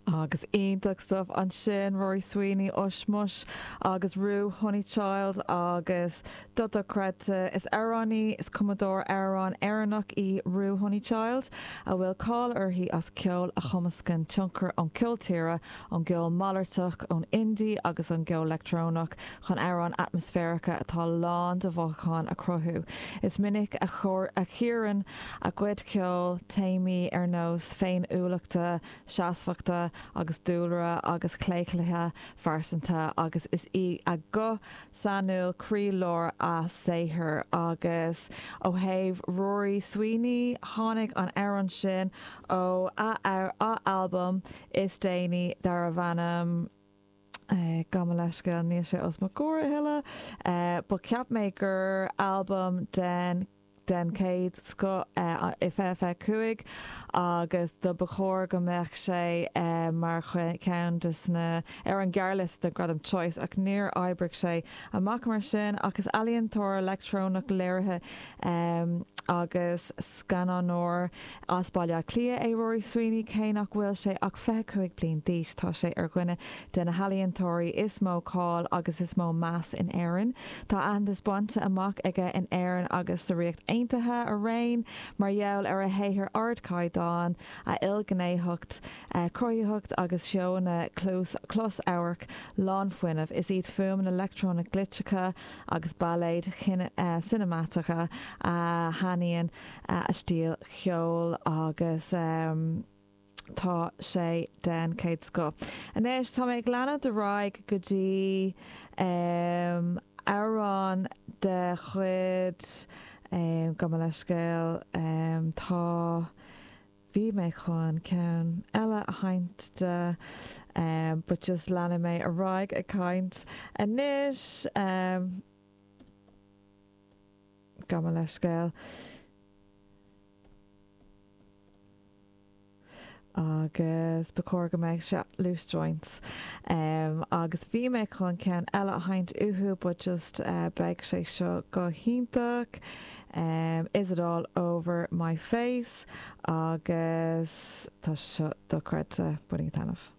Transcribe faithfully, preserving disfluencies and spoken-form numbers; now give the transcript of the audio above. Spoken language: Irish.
Agus iontach stuff ansin Rory Sweeney Ushmush agus Ru Honeychild agus dochreidte is amhránaí is cumadóir amhrán Éireannach í Ru Honeychild a bhfuil cáil uirthi as ceol a chumascann tionchar ón ceol tíre ón gceol malartach ón indie agus an gceol leictreonach chun amhráin atmaisféaracha atá lán de mhothúcháin a chruthú. Is minic a chóir a chíorann a cuid ceoil téamaí ar nós féiniúlachta, seasmhachta agus dúlra agus claochlaithe phearsanta agus is í a guth sainiúil croílár a saothar agus ó thaobh Rory Sweeney tháinig an amhrán sin ó a a albam is déanaí darbh ainm Eh, gabh mo leithscéal níl sé os mo chomhair thuilleadh, ba cheap mé gur albam den den chéad scoth i fiche fiche cúig agus do ba chóir go mbeadh sé mar cheann de sna ar an gearrliosta de Gradam Choice ach níor oibrigh sé amach mar sin ach is ealaíontóir leictreonach léirithe um, agus scannánóir as Baile Átha Cliath é Rory Sweeney cé nach bhfuil sé ach fiche cúig bliain d'aois tá sé ar dhuine de na healaíontóirí is mó cáil agus is mó meas in Éirinn. Tá aitheantas bainte amach aige in Éirinn agus sa Ríocht Aontaithe araon mar gheall ar a shaothar ardchaighdeáin a ilghnéitheacht cruthaitheacht agus seónna closamhairc lánfhuinnimh. Is iad fuaimeanna leictreonach glitseacha agus bailéid cineamatacha a shainíonn a stíl cheoil agus um, tá sé den chéad scoth. Anois tá mé ag leanúint ar aghaidh go dtí um, amhrán de chuid um, gabh mo leithscéal um, tá bhí mé chun ceann eile a sheinnt de um, but just leanfaidh mé ar aghaidh ag caint anois um, gabh mo leithscéal. Agus ba chóir go mbeidh sé Loose Joints. Um, agus bhí mé chun ceann eile a sheinnt uathu, but just uh, beidh sé seo go hiontach. Um, is it all over my face agus tá seo dochreidte bainigí taitneamh.